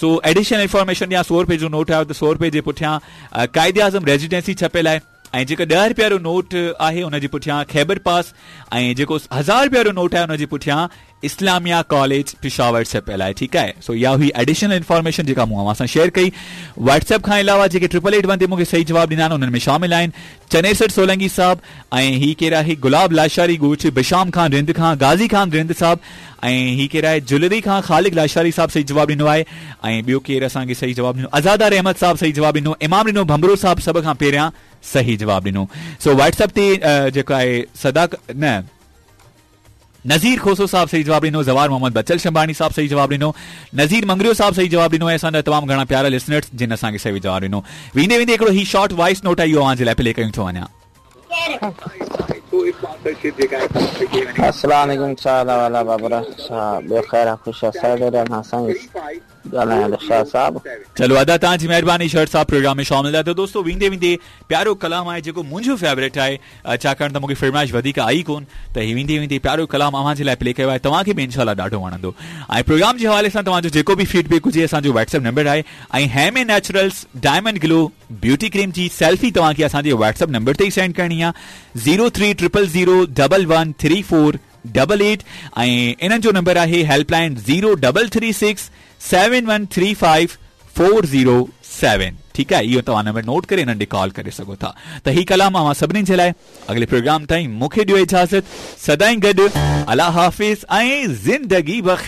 سو additional information ڏيان سو رپئي جو نوٽ آيو ته سو رپئي جي پٺيان قائد اعظم ريزيڊنسي ڇپيل آهي ۽ جيڪو ڏهه رپيا وارو نوٽ آهي ان جي پٺيان خيبر پاس ۽ جيڪو هزار رپيا وارو نوٽ آهي ان جي پٺيان اسلاميه ڪاليج پشاور ڇپيل آهي ٺيڪ آهي سو اها هئي ايڊيشنل انفارميشن جيڪا مون اوهان سان شيئر ڪئي واٽس ايپ کان علاوه جيڪي ٽرپل ايٽ ون تي مون کي صحيح جواب ڏنا آهن انهن ۾ شامل آهن چنيسر سولنگي صاحب ۽ هي ڪير آهي گلاب لاشاري ڳوٺ بشام خان رند کان غازي خان رند صاحب ۽ هي ڪير آهي جلري کان خالق لاشاري صاحب صحيح جواب ڏنو آهي ۽ ٻيو ڪير اسان کي صحيح جواب ڏنو ازادار احمد صاحب صحيح جواب ڏنو امام ڏنو ڀنڀرو صاحب سڀ کان پهريان صحيح جواب ڏنو سو واٽس ايپ تي جيڪو آهي صدا نه نذير کوسو صاحب صحيح جواب ڏنو، زوار محمد بچل شنباڻي صاحب صحيح جواب ڏنو، نذير مڱريو صاحب صحيح جواب ڏنو ۽ اسان جا تمام گهڻا پيارا لسنرز جن اسان کي صحيح جواب ڏنو. ويندي ويندي هڪڙو هي شارٽ وائس نوٽ آهي اهو اوهان جي لاء پلي ڪيون ٿو وڃان. السلام عليڪم ڇا حال احوال آ بابرا ڇا ٻيو خير آ خوش آ سر ڊيرا کان سائين ڳالهايان ٿو شاهه صاحب. چلو ادا توهان جي مهرباني شر صاحب پروگرام ۾ شامل ٿيا ته دوستو ويندي ويندي پيارو ڪلام آهي جيڪو منهنجو فيورٽ آهي ڇاڪاڻ ته مونکي فرمائش وڌيڪ آئي ڪون ته هي ويندي ويندي پيارو ڪلام اوهان جي لاء پلي ڪيو آهي توهان کي به انشاء الله ڏاڍو وڻندو ۽ پروگرام جي حوالي سان توهان جو جيڪو به فيڊ بيڪ هجي اسان جو واٽس ايپ نمبر آهي ۽ هيمي نيچرلز ڊائمنڊ گلو بيوٽي ڪريم جي سيلفي توهان کي اسان جي واٽس ايپ نمبر تي ئي سينڊ ڪرڻي آهي zero three triple zero double one three four double eight ۽ انهن جو نمبر آهي help line zero double three six seven one three five four zero seven ٺيڪ آهي اهو توهان نمبر نوٽ ڪري انهن ڏي ڪال ڪري سگهو ٿا ته هي ڪلام اوهان سڀني جي لاء اڳلي پروگرام تائين مون کي ڏيو اجازت سدائين گڏ الله حافظ ۽ زندگي بخير.